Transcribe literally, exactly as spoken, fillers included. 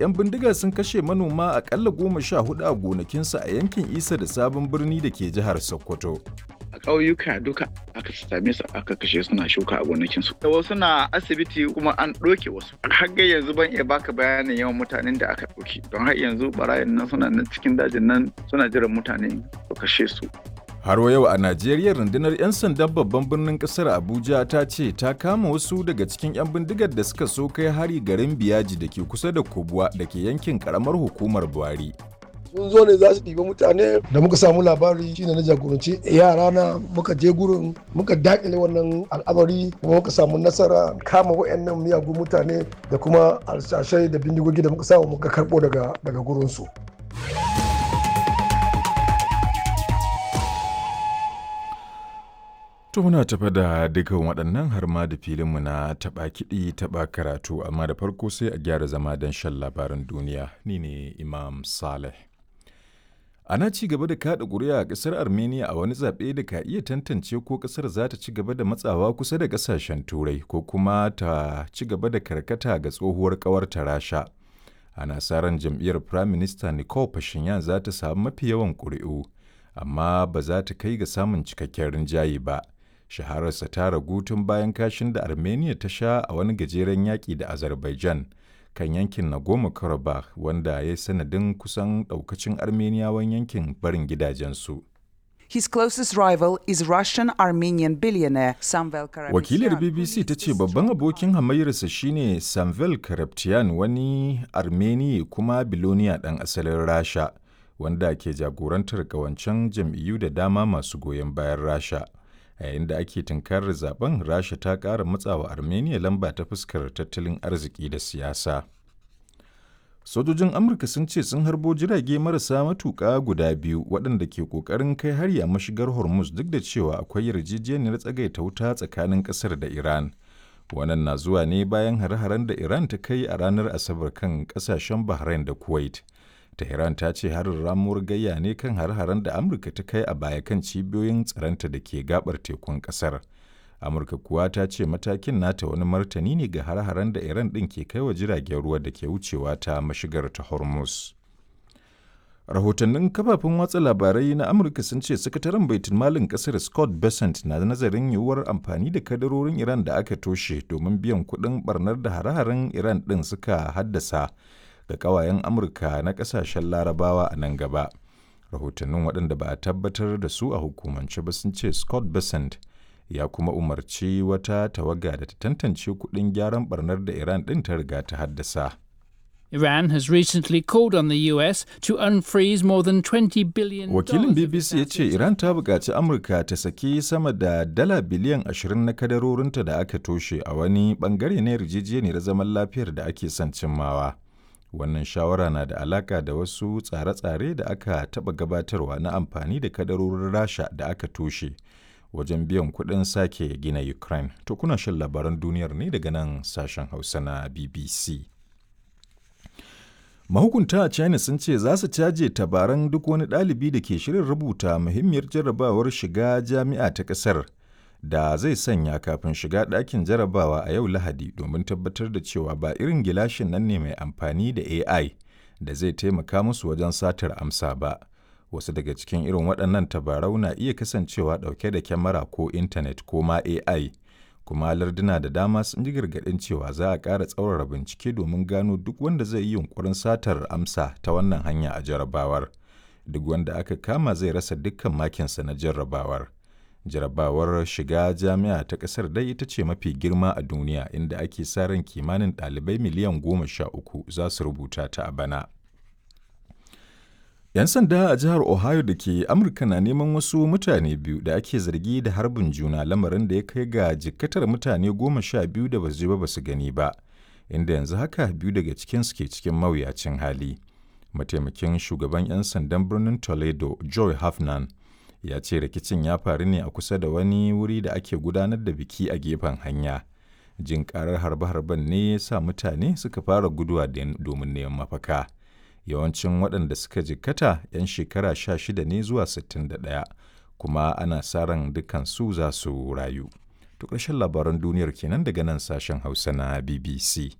'Yan bindiga sun kashe manoma akalla goma sha hudu a gonakinsu a yankin Isa da Sabon Birni da ke jihar Sokoto. A ƙauyuka duka aka same su aka kashe suna shuka a gonakinsu. Da wasu na asibiti kuma an ɗauke wasu. Har ga yanzu ban iya baka bayanin yawan mutanen da aka ɗauke. Don har yanzu barayin nan suna nan cikin dajin nan suna jiran mutane su kashe su. Har wa yau a Najeriya, rundunar 'yan sandan babban birnin kasar Abuja ta ce ta kama wasu daga cikin 'yan bindigar da suka so kai hari garin Biyaji da ke kusa da Kubwa da ke yankin karamar hukumar Buhari. Sun zo ne za su ɗiba mutane. Da muka samu labari shine na jagoranci yara na muka je gurin, muka dakile wannan al'amari, kuma muka samu nasara kama wayannan miyagun mutane da kuma alsashai da bindigogi da muka samu muka karɓo daga daga gurinsu. To muna tafa da dukkan waɗannan har ma da filinmu na taɓa kiɗi taɓa karatu, amma da farko sai a gyara zama don shan labaran duniya. Ni ne Imam Saleh. Ana ci gaba da kaɗa ƙuri'a a ƙasar Armenia a wani zaɓe da ka iya tantance ko ƙasar za ta ci gaba da matsawa kusa da ƙasashen Turai ko kuma ta ci gaba da karkata ga tsohuwar ƙawarta Rasha. Ana sa ran jam'iyyar Prime Minister Nikol Pashinyan za ta samu mafi yawan ƙuri'u, amma ba za ta kai ga samun cikakken rinjaye ba. Shahararsa ta ragu tun bayan kashin da Armenia ta sha a wani gajeren yaƙi da Azerbaijan kan yankin Nagorno-Karabakh, wanda ya yi sanadin kusan ɗaukacin Armeniyawan yankin barin gidajensu. His closest rival is Russian-Armenian billionaire Samvel Karapetyan. Wakilar B B C ta ce babban abokin hamayyarsa shine Samvel Karapetyan, wani Armeni kuma biloniya ɗan asalin Rasha, wanda ke jagorantar ƙawancen jam'iyyu da dama masu goyon bayan Rasha. A yayin da ake tunkarar zaben, Rasha ta ƙara matsawa Armenia lamba ta fuskar tattalin arziki da siyasa. Sojojin Amurka sun ce sun harbo jirage marasa matuƙa guda biyu waɗanda ke ƙoƙarin kai hari a mashigar Hormuz, duk da cewa akwai yarjejeniyar tsagaita wuta tsakanin ƙasar da Iran. Wannan na zuwa ne bayan hare-haren da Iran ta kai a ranar Asabar kan ƙasashen Bahrain da Kuwait. Tehran ta ce harin ramuwar gayya ne kan har-haren da Amurka ta kai a baya kan cibiyoyin tsaronta da ke gabar tekun kasar. Amurka kuwa ta ce matakin nata wani martani ne ga har-haren da Iran ɗin ke kai wa jiragen ruwa da ke wucewa ta mashigar ta Hormuz. Rahotannin kafafen watsa labarai na Amurka sun ce sakataren baitul malin kasar Scott Bessent na nazarin yiwuwar amfani da kadarorin Iran da aka toshe domin biyan kuɗin barnar da hare-haren Iran ɗin suka haddasa ga kawayen Amurka na kasashen Larabawa a nan gaba. Rahotannin, waɗanda ba a tabbatar da su a hukumance ba, sun ce Scott Bessent ya kuma umarci wata tawaga da ta tantance kuɗin gyaran barnar da Iran ɗin ta riga ta haddasa. Iran has recently called on the U S to unfreeze more than twenty billion. Wakilin B B C ya ce Iran ta buƙaci Amurka ta saki sama da dala biliyan ashirin na kadarorinta da aka toshe a wani bangare na yarjejeniyar zaman lafiyar da ake son cimmawa. Wannan shawara na da alaka da wasu tsare-tsare da aka taɓa gabatarwa na amfani da kadarorin Rasha da aka toshe wajen biyan kuɗin sake gina Ukraine. To kuna shan labaran duniyar ne daga nan sashen Hausa na B B C. Mahukunta a China sun ce za su caje tabaran duk wani ɗalibi da ke shirin rubuta muhimmiyar jarrabawar shiga jami'a ta ƙasar da zai sanya kafin shiga ɗakin jarabawa a yau Lahadi, domin tabbatar da cewa ba irin gilashin nan ne mai amfani da A I da zai taimaka musu wajen satar amsa ba. Wasu daga cikin irin waɗannan tabarau na iya kasancewa ɗauke da kyamara ko intanet ko ma A I. Kuma larduna da dama sun ji gargaɗin cewa za a ƙara tsaurara bincike domin gano duk wanda zai yi yunƙurin satar amsa ta wannan hanya a jarabawar. Duk wanda aka kama zai rasa dukkan makinsa na jarrabawar. Jarabawar shiga jami'a ta kasar dai ita ce mafi girma a duniya, inda ake sa ran kimanin ɗalibai miliyan goma sha uku za su rubuta ta a bana. 'Yan sanda a jihar Ohio da ke Amurka na neman wasu mutane biyu da ake zargi da harbin juna, lamarin da ya kai ga jikkatar mutane goma sha biyu da basu je ba basu gani ba, inda yanzu haka biyu daga cikinsu ke cikin mawuyacin hali. Mataimakin shugaban 'yan sandan birnin Toledo, Joy Hafnan, ya ce rikicin ya faru ne a kusa da wani wuri da ake gudanar da biki a gefen hanya. Jin karar harbe-harben ne ya sa mutane suka fara guduwa domin neman mafaka. Yawancin waɗanda suka jikkata 'yan shekara sha shida ne zuwa sittin da ɗaya, kuma ana sa ran dukansu za su rayu. To ƙarshen labaran duniyar kenan daga nan sashen Hausa na B B C.